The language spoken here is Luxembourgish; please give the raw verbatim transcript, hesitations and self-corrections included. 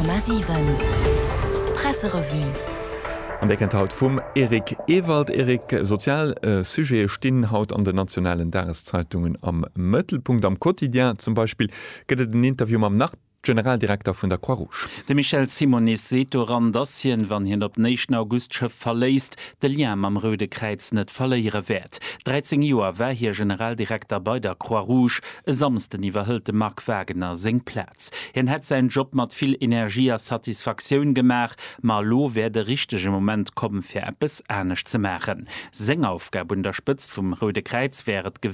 Komma siwen Presserevue. An déi kënnt haut vum Eric Ewald. Eric, sozial Sujete stinn haut an den nationalen Dageszeitungen am Mëttelpunkt. Am Quotidien zum Beispill gëtt et en Interview mam Nach-Generaldirekter vun der Croix-Rouge. De Michel Simonis seet doran, dass hien, wann hien op den éischten August d'Schëff verléisst, de Lien mam Roude Kräiz net verléiere wäert. dräizéng Joer war hie Generaldirekter bei der Croix-Rouge. E Samsden iwwerhëlt de Marc Wagener seng Plaz. Hien hätt säin Job mat vill Energie a Satisfaktioun gemaach, ma elo wär de richtege Moment komm fir eppes anescht ze maachen. Seng Aufgab un der Spëtzt vum Roude Kräiz wär et gewiescht,